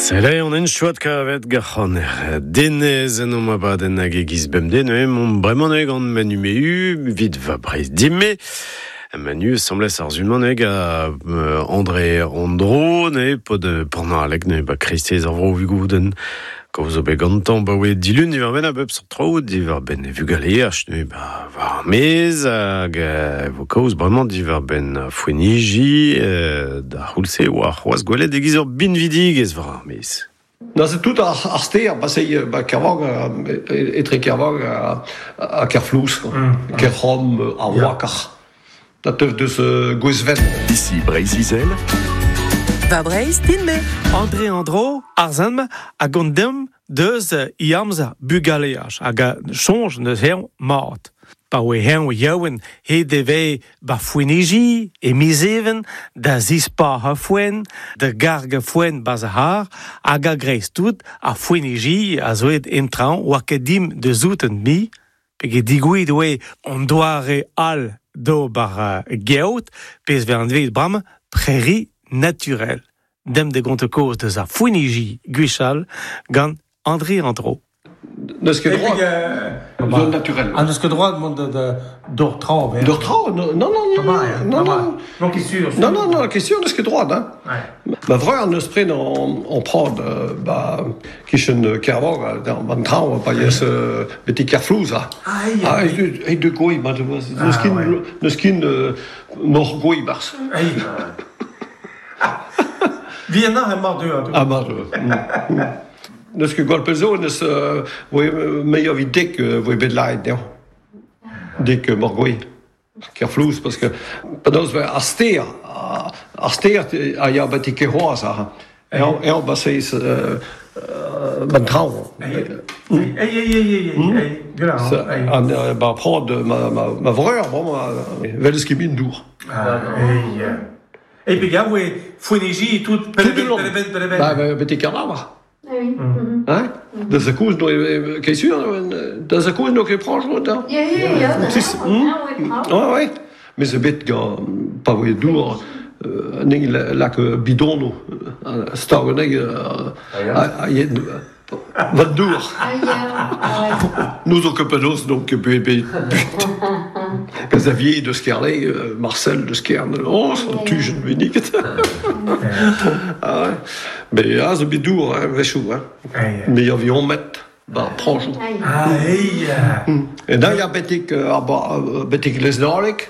Sele on en chouat kavet gac'haner denez en om abadenn hag e giz bemdez neuze mont bremañ neuze gant Manu Mehu vit va Breizh dime. Manu semblez ar zuman hag a André Andro neuze pod pornalek neuze ba kreisteiz ar vro vugouden. Kaoz zo bet gantañ ba oe dilun diwar-benn a bep seurt traoù diwar-benn e vugaleaj neuze ba war ar maez hag e vo kaoz bremañ diwar-benn foeniji da c'houlz-se oa c'hoazh gwelet e-giz ur binvidigezh war ar maez. Neuze tout ar stêr, ba se ba Kervang, etre Kervang ha Kerflouz, Kerc'horn, ar Wakar. Da teuf deus Gouezven. Ici Breizh-Izel. Va Breizh din-me. André Andro, ar zem a gont deomp deus i amzer bugaleaj hag a soñj neus eñ mat. Pa oe eñ yaouank he devez ba foeniji e miz Even da zispac'hañ foenn, da gargañ foenn 'barzh ar c'harr hag a-greiz-tout ar foeniji a zo aet en traoñ oa ket dimp da souten mui peget digouezhet oe an doare all d'ober geot pezh 'vez anvet bremañ prairie naturelle. Demp da gontañ kaoz deus ar foeniji gwechall gant André Andro. N'eus ket droad. Zone naturelle. Ah, n'eus ket droad mont d'or traoñ. D'or traoñ Non, non, non. Non, non. Non, ket sûr. Non, non, non, ket sûr, n'eus ket droad. Hein. Ma vreur n'eus pren en prod ba kichen Kervor, ban traoñ, pa yes betek Kerflouz. Ah, ah, e de goi, ma n'eus ket n'eus ket mor goi barzh. Vienna emañ deuet. Ah, mar deuet. N'eus ket gwall pell zo, n'eus meilh evit dek voe bet lâret dezhañ. Dek morgoilh. Kerflouz, parce que penaos ar stêr, ar stêr a ya betek Kerhoaz aze. Eñ eñ ba seiz ban traoñ. Ei, ei, ei, ei, ei, An ba prad ma ma ma vreur, bremañ, 'wel ket min dour. Ah, ei, E pegañ voe foeniji tout pell-ben, pell-ben. Ba, betek Kerlavar. Hein? Da za koulz no ket sûr, da za koulz no ket prañj da? Ya, ya, ya. Ouais, ouais. Mais zo bet gant pa voe dour anezhi lak bidonoù stag anezhi a Vat dour. N'ouzon ket penaos donc bet Xavier deus Kerle, Marcel deus Kerne, oh, an tujenn benniget. Ah, mais ah, zo bet dour, hein, wechoù, hein. Mais avion met ba prañjoù. Ah, ei. E da ya betek, betek Leznalek.